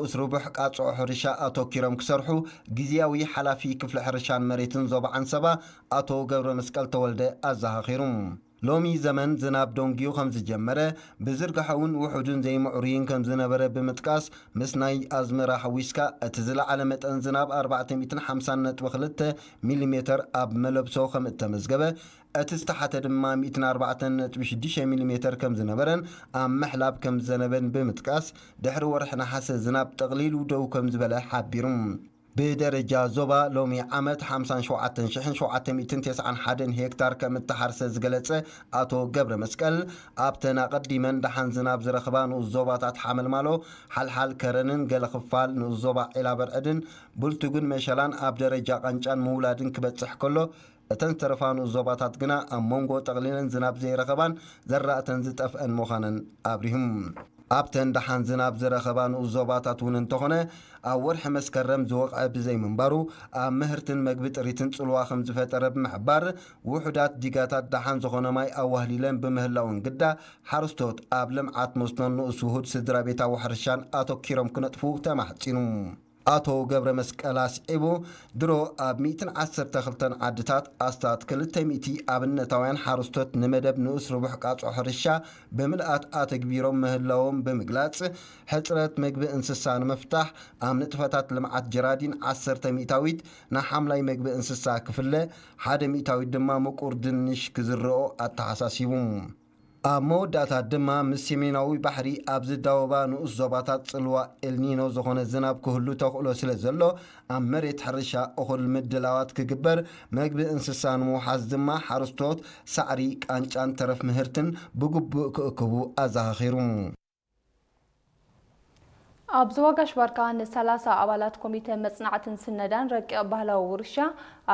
ንኡስ ርቡሕ ቃጽዖ ሕርሻ ኣተኪሮም ክሰርሑ ግዝያዊ ሓላፊ ክፍሊ ሕርሻን መሬትን ዞባ ዓንሰባ ኣቶ ገብረ መስቀል ተወልደ ኣዘኻኺሩ። ሎሚ ዘመን ዝናብ ደንጊዩ ከም ዝጀመረ፣ ብዝርግሐ እውን ውሑድን ዘይምዕሩይን ከም ዝነበረ ብምጥቃስ፣ ምስ ናይ ኣዝመራ ሓዊስካ እቲ ዝለዓለ መጠን ዝናብ ኣርባዕተ ሚእትን ሓምሳን ነጥቢ ክልተ ሚሊሜተር ኣብ መለብሶ ከም እተመዝገበ፣ እቲ ዝተሓተ ድማ ሚእትን ኣርባዕተን ነጥቢ ሽዱሽተ ሚሊሜተር ከም ዝነበረን ኣብ ምሕላብ ከም ዝዘነበን ብምጥቃስ፣ ድሕሪ ወርሒ ነሓሰ ዝናብ ጠቕሊሉ ደው ከም ዝበለ ሓቢሩ። ብደረጃ ዞባ ሎሚ ዓመት ሓምሳን ሸውዓተን ሽሕን ሸውዓተ ሚእትን ተስዓን ሓደን ሄክታር ከም እተሓርሰ ዝገለጸ ኣቶ ገብረ መስቀል፣ ኣብተን ኣቐዲመን ደሓን ዝናብ ዝረኽባ ንኡስ ዞባታት ሓመልማሎ፣ ሓልሓል ከረንን ገለ ክፋል ንኡስ ዞባ ዒላ በርዕድን፣ ብልቱግን መሸላን ኣብ ደረጃ ቃንጫን ምውላድን ክበጽሕ ከሎ፣ እተን ዝተረፋ ንኡስ ዞባታት ግና ኣብ መንጎ ጠቕሊለን ዝናብ ዘይረኸባን ዘራእተን ዝጠፍአን ምዃነን ኣብሪሁም። ኣብተን ደሓን ዝናብ ዝረኸባ ንኡስ ዞባታት እውን እንተኾነ፣ ኣብ ወርሒ መስከረም ዝወቕዐ ብዘይምንባሩ፣ ኣብ ምህርትን መግቢ ጥሪትን ጽልዋ ከም ዝፈጠረ ብምሕባር፣ ውሑዳት ዲጋታት ደሓን ዝኾነ ማይ ኣዋህሊለን ብምህላውን ግዳ፣ ሓረስቶት ኣብ ልምዓት መስኖን ንኡስ ውሁድ ስድራ ቤታዊ ሕርሻን ኣተኪሮም ክነጥፉ ተማሕጺኑ። ኣቶ ገብረ መስቀል ኣስዒቡ፣ ድሮ ኣብ ሚእትን ዓሰርተ ክልተን ዓድታት ኣስታት ክልተ ሚእቲ ኣብነታውያን ሓረስቶት ንመደብ ንኡስ ርቡሕ ቃጽዖ ሕርሻ ብምልኣት ኣተግቢሮም ምህላዎም ብምግላጽ፣ ሕጽረት መግቢ እንስሳ ንምፍታሕ ኣብ ንጥፈታት ልምዓት ጀራዲን ዓሰርተ ሚእታዊት ንሓምላይ መግቢ እንስሳ ክፍለ፣ ሓደ ሚእታዊት ድማ ምቁር ድንሽ ክዝርኦ ኣተሓሳሲቡ። ኣብ መወዳእታ ድማ ምስ ሰሜናዊ ባሕሪ ኣብ ዝዳወባ ንኡስ ዞባታት ጽልዋ ኤልኒኖ ዝኾነ ዝናብ ክህሉ ተኽእሎ ስለ ዘሎ፣ ኣብ መሬት ሕርሻ እኹል ምድላዋት ክግበር፣ መግቢ እንስሳ ንምውሓዝ ድማ ሓረስቶት ሳዕሪ፣ ቃንጫን ተረፍ ምህርትን ብግቡእ ክእክቡ ኣዘኻኺሩ። ኣብ ዞባ ጋሽ ባርካ ንሰላሳ ኣባላት ኮሚተ መጽናዕትን ስነዳን ረቂቕ ባህላዊ ውርሻ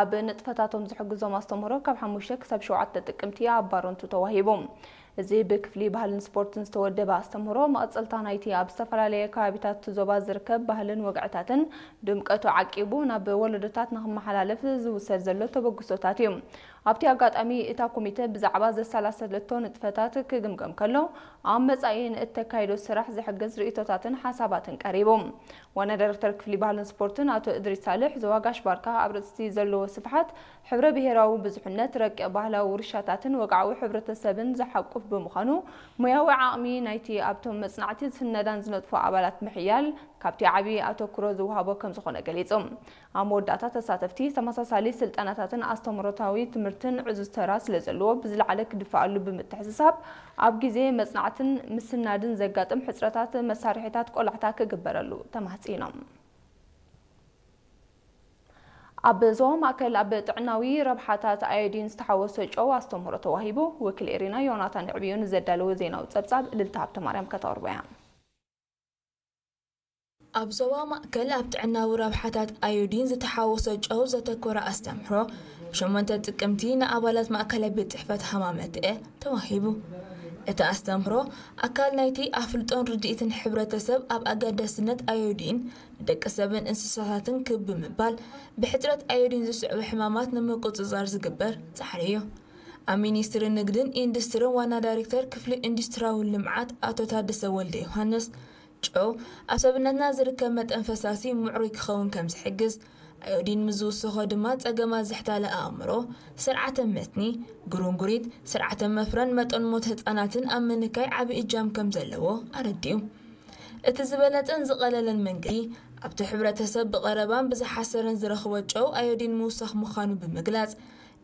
ኣብ ንጥፈታቶም ዝሕግዞም ኣስተምህሮ ካብ ሓሙሽተ ክሳብ ሸውዓተ ጥቅምቲ ኣብ ባረንቱ ተዋሂቡ። እዚ ብክፍሊ ባህልን ስፖርትን ዝተወደበ ኣስተምህሮ፣ መቐጸልታ ናይቲ ኣብ ዝተፈላለየ ከባቢታት እቲ ዞባ ዝርከብ ባህልን ወግዕታትን ድምቀቱ ዓቂቡ ናብ ወለዶታት ንክመሓላለፍ ዝውሰድ ዘሎ ተበግሶታት እዩ። ኣብቲ ኣጋጣሚ፣ እታ ኮሚተ ብዛዕባ ዘሰላሰለቶ ንጥፈታት ክግምገም ከሎ፣ ኣብ መጻኢ ንእተካይዶ ስራሕ ዝሕግዝ ርእይቶታትን ሓሳባትን ቀሪቡ። ዋና ዳይሬክተር ክፍሊ ባህልን ስፖርትን ኣቶ እድሪስ ሳልሕ፣ ዞባ ጋሽ ባርካ ኣብ ርእሲ ዘለዎ ስፍሓት፣ ሕብረ ብሄራዊ ብዙሕነት፣ ረቂቕ ባህላዊ ውርሻታትን ወግዓዊ ሕብረተሰብን ዝሓቁፍ ብምዃኑ፣ ሞያዊ ዓቕሚ ናይቲ ኣብቶም መጽናዕቲ ስነዳን ዝነጥፉ ኣባላት ምሕያል ካብቲ ዓቢ ኣተኩሮ ዝወሃቦ ከም ዝኾነ ገሊጹ። ኣብ መወዳእታ፣ ተሳተፍቲ ተመሳሳሊ ስልጠናታትን ኣስተምህሮታዊ ትምህርትን ዕዙዝ ተራ ስለ ዘለዎ፣ ብዝለዓለ ክድፈኣሉ ብምትሕስሳብ፣ ኣብ ግዜ መጽናዕትን ምስናድን ዘጋጥም ሕጽረታት መሳርሒታት ቆላሕታ ክግበረሉ ተማህጺኖም። ኣብ ዞባ ማእከል ኣብ ጥዕናዊ ረብሓታት ኣዮዲን ዝተሓወሶ ጨው ኣስተምህሮ ተዋሂቡ። ወኪል ኤሪና ዮናታን ዕብዩ ንዘዳለወ ዜናዊ ጸብጻብ እልልታ ሃብተማርያም ከተቕርቦ እያ። ኣብ ዞባ ማእከል ኣብ ጥዕናዊ ረብሓታት ኣዮዲን ዝተሓወሶ ጨው ዘተኮረ ኣስተምህሮ፣ ብ ሸሞንተ ጥቅምቲ ንኣባላት ማእከላይ ቤት ጽሕፈት ሃማመተኤ ተዋሂቡ። እቲ ኣስተምህሮ፣ ኣካል ናይቲ ኣፍልጦን ርድኢትን ሕብረተሰብ ኣብ ኣገዳስነት ኣዮዲን ንደቂ ሰብን እንስሳታትን ክብ ብምባል፣ ብሕጽረት ኣዮዲን ዝስዕቡ ሕማማት ንምቁጽጻር ዝግበር ጻዕሪ እዩ። ኣብ ሚኒስትሪ ንግድን ኢንዱስትሪን ዋና ዳይሬክተር ክፍሊ ኢንዱስትሪያዊ ልምዓት ኣቶ ታደሰ ወልደ ዮሃንስ፣ ጨው ኣብ ሰብነትና ዝርከብ መጠን ፈሳሲ ምዕሩይ ክኸውን ከም ዝሕግዝ፣ ኣዮዲን ምስ ዝውሰኾ ድማ ጸገማት ዝሕታለ ኣእምሮ፣ ስርዓተ መትኒ፣ ጉርንጉሪት፣ ስርዓተ መፍረን መጠን ሞት ህጻናትን ኣብ ምንካይ ዓቢ እጃም ከም ዘለዎ ኣረዲኡ። እቲ ዝበለጸን ዝቐለለን መንገዲ፣ ኣብቲ ሕብረተሰብ ብቐረባን ብዝሓሰረን ዝረኽቦ ጨው ኣዮዲን ምውሳኽ ምዃኑ ብምግላጽ፣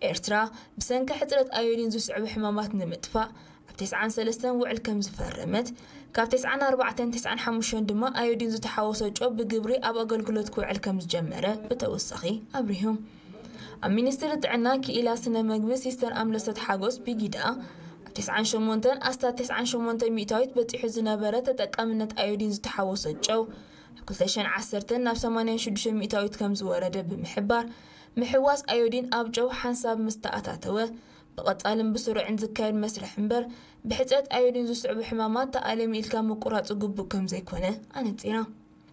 ኤርትራ ብሰንኪ ሕጽረት ኣዮዲን ዝስዕቡ ሕማማት ንምጥፋእ፣ ኣብ ተስዓን ሰለስተን ውዕል ከም ዝፈረመት፣ ካብ ተስዓን ኣርባዕተን ተስዓን ሓሙሽተን ድማ ኣዮዲን ዝተሓወሶ ጨው ብግብሪ ኣብ ኣገልግሎት ክውዕል ከም ዝጀመረ ብተወሳኺ ኣብሪሁ። ኣብ ሚኒስትሪ ጥዕና ክኢላ ስነ መግቢ ሲስተር ኣምለሰት ሓጎስ ቢጊዳ፣ ኣብ ተስዓን ሸሞንተን ኣስታት ተስዓን ሸሞንተ ሚእታዊት በጺሑ ዝነበረ ተጠቃምነት ኣዮዲን ዝተሓወሶ ጨው፣ ኣብ ክልተ ሽሕን ዓሰርተን ናብ ሰማንያን ሽዱሽተ ሚእታዊት ከም ዝወረደ ብምሕባር፣ ምሕዋስ ኣዮዲን ኣብ ጨው ሓንሳብ ምስ ተኣታተወ፣ ብቐጻልን ብስሩዕን ዝካየድ መስርሕ እምበር፣ ብሕጽረት ኣዮዲን ዝስዕቡ ሕማማት ተኣለሚ ኢልካ ምቁራጽ ግቡእ ከም ዘይኮነ ኣነጺራ።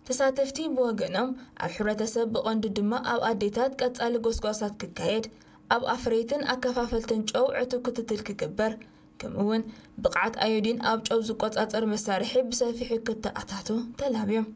ተሳተፍቲ ብወገኖም፣ ኣብ ሕብረተሰብ ብቐንዱ ድማ ኣብ ኣዴታት ቀጻሊ ጎስጓሳት ክካየድ፣ ኣብ ኣፍረይትን ኣከፋፈልትን ጨው ዕቱብ ክትትል ክግበር፣ ከምኡ'ውን ብቕዓት ኣዮዲን ኣብ ጨው ዝቆጻጸር መሳርሒ ብሰፊሑ ክተኣታቶ ተላብዮም።